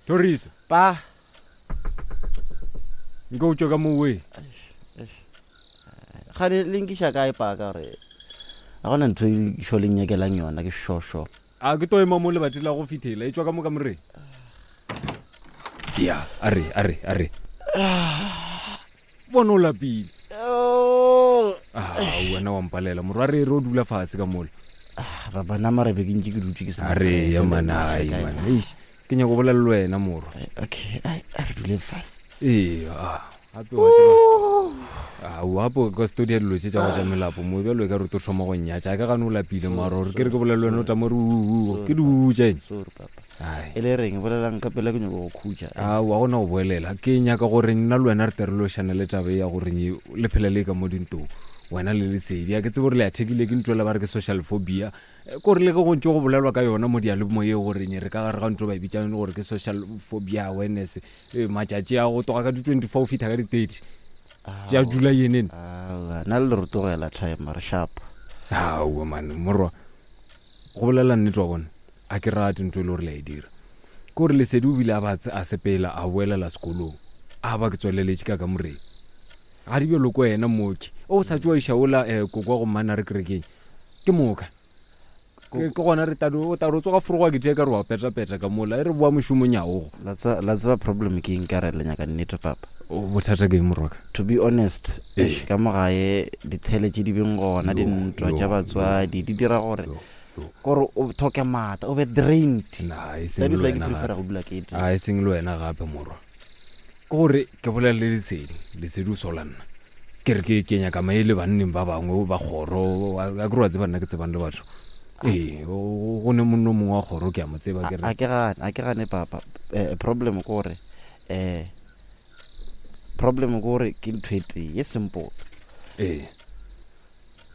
Thoriso. Pa. Nko o tšwe ka mo we. Gane le nkiša kae pa ka gore ga gona ntho e šo le nyakelang yona ke šošo. A ke to ema mo lebati la go fithela e tšwa ka mo kamoreng. Ya, a re, a re, a re. Bona o lapile. Ah, wena wa mpalela morwa re re o dula fase ka mola. Ah, baba nna mara be ke ntše ke dutše ke sena A re ya man, ai man. Eish, ke nyaka go bolela le wena morwa. Eh, okay, ai, a re dule fase. Ee, ah, gape wa tseba. Ah, o gape o ka se tlo dia dilo tše tša go tša melapo mo bjalo e ka re o tlo thoma go nnyatša. A ke gane o lapile mara gore ke re ke bolele le wena o tama re uu, ke di uu tša eng? Sorry papa. Ai. E le reng bolelang ka pela ke nyoko go khutša. Aowa gona go boelela. Ke nyaka gore nna le wena re tle re lošane le taba ye ya gore le phela le ka mo dintong. Wena le Lesedi. A ke tsebe gore le athekile ke ntho ela ba re ke social phobia. Ke gore le ge go ntše go bolelwa ka yona mo diyalemoyeng gore re ka gare ga ntho ba e bitsang gore ke social phobia awareness. Matšatši a go tloga ka di 24 go fihla ka di 30 tša July yenene. Aowa nna le re tlogela time re sharp. Aowa man morwa go bolela nnete wa bona. A ke rate ntho e le gore le a e dira. Ke gore Lesedi o bile a ba a sepela a boelela sekolong. A ba ke tsweleletše ka kamoreng. Ga di bjalo ko wena mooki. O sa tšo iša ola eh, koko wa go mmana re kerekeng. Ke moka. Ke ke gona re tado o tado tsoga foroga ke tšee ka re wa petapeta ka mola e re boa mošomong ya ogo. La tseba la tseba problem ke eng ka re le nyaka nnete papa. O bothata ke eng morwaka? To be honest, Ee. eish, ka mo gae ditshele tše di beng gona, Yo, dintwa yo, tša yo, batswadi di dira gore yo. Kore o thoke maatla, o be drained. Na e That seng is le why ke wena prefera gape. go dula ke tee. A e seng le wena gape morwa. Ke gore ke bolela le Lesedi, Lesedi o sola nna. Ke re ke ke nyaka maele banneng ba bangwe ba kgoro, a ke re wa tseba nna ke tsebang le batho. Ee, go ne monno mongwe wa kgoro ke a mo tseba ke re. A ke gane, a ke gane papa. Eh, problem ke gore eh problem ke gore ke ntho e tee ye simple. Ee.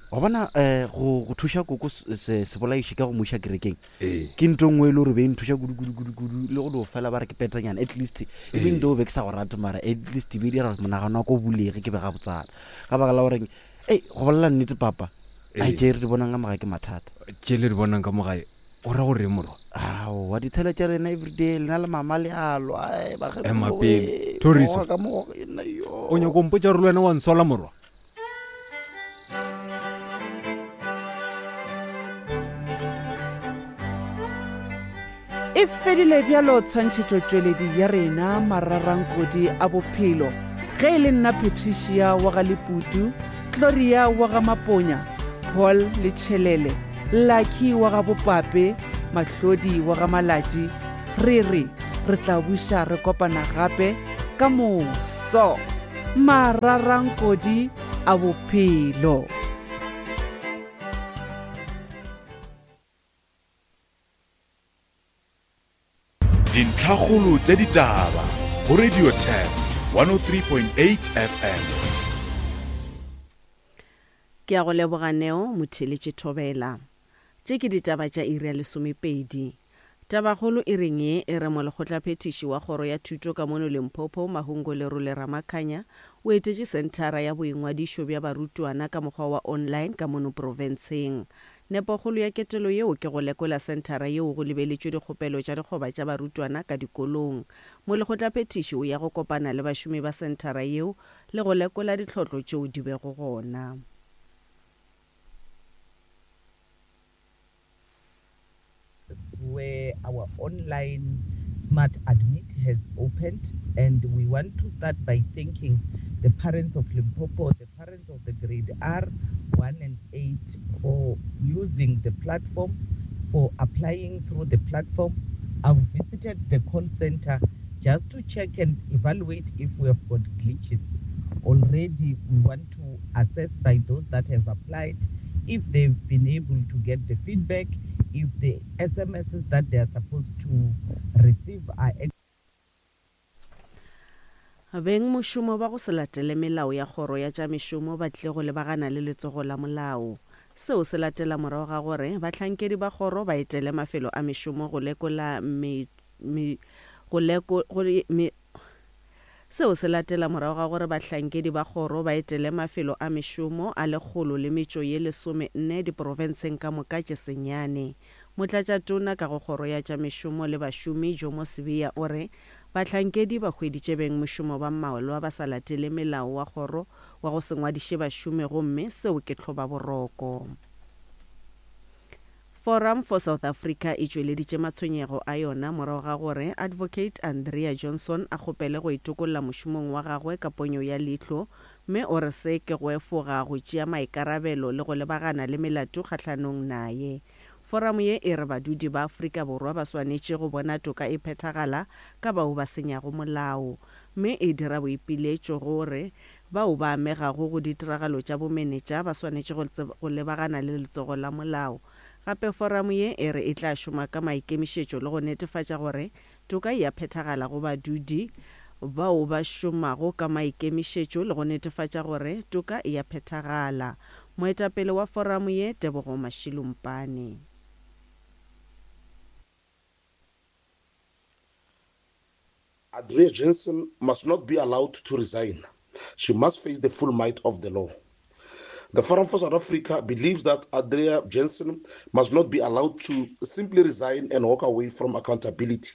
Wa bona um go go thuša koko se sebolaiši ka go mo iša kerekeng Ee. ke ntho e nngwe e le gore be e nthuša kudu kudu kudu kudu le go dio fela ba re ke petanyana at least even though be ke sa go rate mara at least e be e dira gore monagano wa ka o bulege ke be gabotsana ka baka la goreng ei go bolela nnete papa ai Ee. tše re di bonang ka mo gae ke mathata. Tše le di bonang ka mo gae o ra gore morwa? Aowa ditshele tša lena everyday lena le mama le a lwa ai Ema bakgekolo pele. wee Thoriso. goga ka mo go nna yo. O nyako mpotša gore le wena wa nsola morwa? E fedile bjalo tshwantšhetšotšweledi ya rena mararankodi a bophelo. Ge e le nna Patricia wa ga Leputu, Gloria wa ga Maponya, Paul le Tšhelele, Lucky wa ga Bopape, Mahlodi wa ga Malatši, re re re tla buša re kopana gape ka moso. Mararankodi a bophelo. Dintlhakgolo tša ditaba go Radio Turf 103.8 FM. Ke a go leboga Neo, Motheeletši Thobela. Tše ke ditaba tša iri ya lesomepedi. Tabakgolo e reng ye e re Molekgotlaphethiši wa Kgoro ya Thuto ka mono Limpopo, Mahungo Lerole Ramakhanya, o etetše senthara ya boingwadišo bja barutwana ka mokgwa wa online ka mono profenseng. Nepokgolo ya ketelo yeo ke go lekola senthara yeo go lebeletšwe dikgopelo tša dikgoba tša barutwana ka dikolong. Molekgotlaphethiši o ya go kopana le bašomi ba senthara yeo le go lekola ditlhotlo tšeo di bego gona. where our online smart admit has opened and we want to start by thanking the parents of Limpopo, the parents of the grade R 1 and 8 for using the platform, for applying through the platform. I've visited the call center just to check and evaluate if we have got glitches. Already we want to assess by those that have applied if they've been able to get the feedback, if the SMSs that they are supposed to receive are Bengmošomo ba go se latele melao ya kgoro ya tša mešomo ba tlile go lebagana le letsogo la molao. Seo se latela morago ga gore bahlankedi ba kgoro ba etele mafelo a mešomo go lekola me, me, go leko, go, me, Seo se latela morago ga gore bahlankedi ba kgoro ba etele mafelo a mešomo a lekgolo le metšo ye lesomenne diprofenseng ka moka tše senyane. Motlatšatona ka go Kgoro ya tša Mešomo le Bašomi, Jomo Sibiya o re bahlankedi ba hweditše bengmošomo ba mmalwa ba sa latele melao wa kgoro wa go se ngwadiše bašomi gomme seo ke tlhobaboroko. Forum for South Africa e tšweleditše matshwenyego a yona morago ga gore Advocate Andrea Johnson a kgopele go itokolla mošomong wa gagwe ka ponyo ya leihlo mme o re se ke go efoga go tšea maikarabelo le go lebagana le melato kgahlanong naye. Foramo ye e re badudi ba Afrika Borwa ba swanetše go bona toka e phethagala ka bao ba senyago molao mme e dira boipiletšo gore Bao ba amegago go ditiragalo tša bomenetša ba swanetše go go lebagana le letsogo la molao. Gape foramo ye e re e tla šoma ka maikemišetšo le go netefatša gore toka e a phethagala go badudi bao ba šomago ka maikemišetšo le go netefatša gore toka e a phethagala. Moetapele wa foramo ye, Tebogo Mashilumpane. Adria Jensen must not be allowed to resign. She must face the full might of the law. The Forum for South Africa believes that Andrea Jensen must not be allowed to simply resign and walk away from accountability.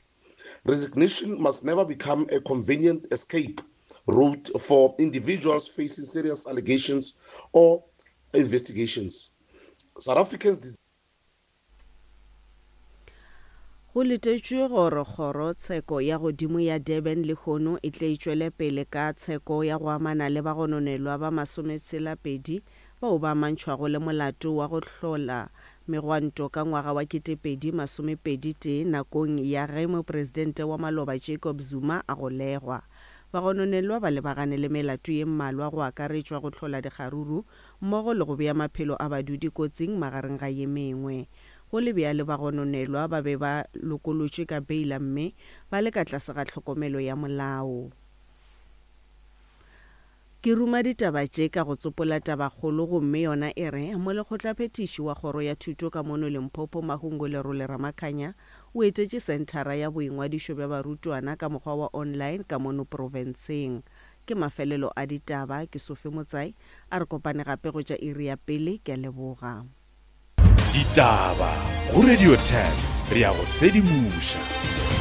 Resignation must never become a convenient escape route for individuals facing serious allegations or investigations. South Africans Go letetšwe gore Kgoro Tsheko ya Godimo ya Durban lehono e tle e tšwele pele ka tsheko ya go amana le bagononelwa ba masometshela-pedi bao ba amantšhwago le molato wa go hlola megwanto ka ngwaga wa 2021 nakong ya ge Mopresidente wa maloba Jacob Zuma a golegwa. Bagononelwa ba lebagane le melato ye mmalwa go akaretšwa go hlola dikgaruru mmogo le go bea maphelo a badudi kotsing magareng ga ye mengwe. Go le bjalo bagononelwa ba be ba lokolotšwe ka beila mme ba le ka tlase ga tlhokomelo ya molao. Ke ruma ditaba tše ka go tsopola tabakgolo gomme yona e re, Molekgotlaphethiši wa Kgoro ya Thuto ka mono Limpopo Mahungo Lerole Ramakhanya o etetše senthara ya boingwadišo bja barutwana ka mokgwa wa online ka mono profenseng. Ke mafelelo a ditaba, ke Sophie Motsai, a re kopane gape go tša iri ya pele, ke a leboga. Ditaba go Radio 10 re ya go sedimoša.